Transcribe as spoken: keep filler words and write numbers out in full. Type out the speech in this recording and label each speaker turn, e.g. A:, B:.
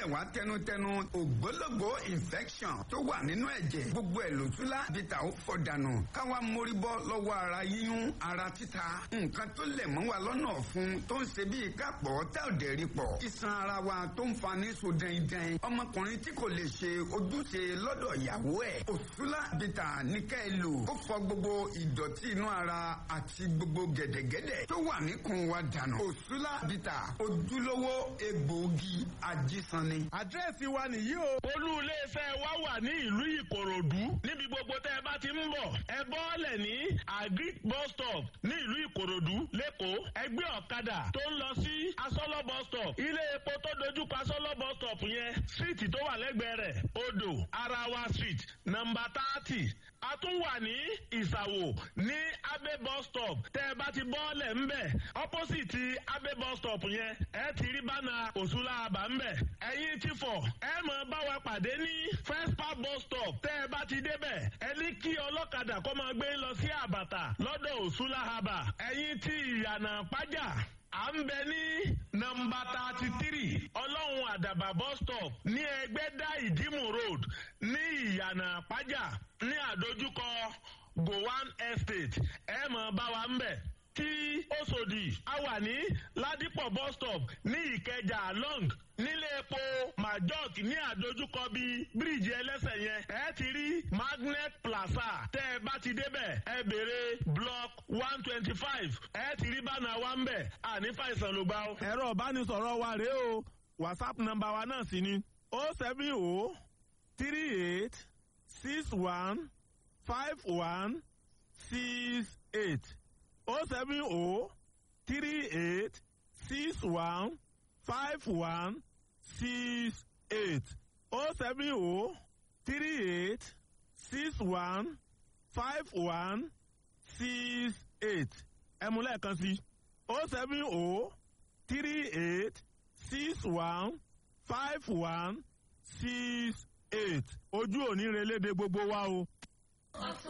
A: lẹ̀ wá tẹnutẹnu. Ògbólógbò infection tó wà nínú ẹ̀jẹ̀, gbogbo ẹ̀ lòtúlá bìtà ó fọ̀ dànù. Káwa mórí bọ́ lọ́wọ́ ara yíyún, ara títa, nǹkan tó lẹ̀ mọ́ wa lọ́nà ọ̀fun tó ń ṣe bíi kápọ̀ tá ò dẹ̀ rí pọ̀, iṣan ara wa tó ń fa ní so dẹ́ndẹ́n, ọmọkùnrin tí kò lè ṣe ojúṣe lọ́dọ̀ ìyàwó ẹ̀. Òṣùlá bìtà ní ká ẹ lò ó, fọ gbogbo ìdọ̀tí inú ara àti gbogbo gẹ̀dẹ̀gẹ̀dẹ̀ tó wà níkùn wa dànù. Òṣùlá bìtà, ojúlówó egbòogi ajísanni.
B: Àdírẹ́sì wa nìyí o.
C: Olú iléeṣẹ́ wa wà ní ìlú Ìkòròdú. Níbi gbogbo tẹ́ ẹ bá ti ń bọ̀, ẹ bọ́ọ̀lẹ̀ ní Agric bus stop ní ìlú Ìkòròdú lẹ́kọ̀ọ́. Ẹgbẹ́ ọ̀kadà tó ń lọ sí Asọ́lọ́ bus stop, ilé epo tó dojúkọ Asọ́lọ́ bus stop yẹn, síìtì tó wà lẹ́gbẹ̀ẹ́ rẹ̀, Odò Arawa Street, nọ́mbà thirty. A tún wà ní Ìsàwò ní Abe bus stop. Tẹ́ ẹ bá ti bọ́ọ̀lẹ̀ ńbẹ̀, opposite Abe bus stop yẹn, ẹ ti rí bánà Òṣùlá àbá ńbẹ̀. Ẹ̀yin ti fọ̀, ẹ mọ̀ bá wa pàdé ní First Park bus stop. Tẹ́ ẹ bá ti débẹ̀, ẹ ní kí ọlọ́kadà kó máa gbé lọ sí Àbàtà lọ́dọ̀ Òṣùlá àbà. Ẹ̀yin ti Ìyànà Pájà, à ń bẹ ní nọ́mbà thirty three Ọlọ́run Àdàbà bus stop ní Ẹgbẹ́dá Ìdímù Road ní Ìyànà Pájà ní àdójúkọ Gowan Estate. Ẹ mọ̀ bá wa ń bẹ̀. Tí Òṣòdì, a wà ní Ládìpọ̀ bus stop ní Ìkẹjà long, nílé epo Majok ní àdójúkọ bíi bíríìjì ẹlẹ́sẹ̀ yẹn, ẹ ti rí Magnet Plaza. Tẹ́ ẹ bá ti débẹ̀, ẹ béèrè block one twenty five, ẹ ti rí bánà wa ń bẹ̀. Àní fàìsàn ló gbà ó.
B: Ẹ̀rọ ìbánisọ̀rọ̀ wa rèé o, WhatsApp nọ́mbà wa náà sì ni o seven o three eight six one five one six eight, o seven o three eight six one five one six eight, o seven o three eight six one five one six eight. Ẹ mú lẹ́ẹ̀kan sí: o seven o three eight six one five one six eight. Ojú òní relédè gbogbo wa o.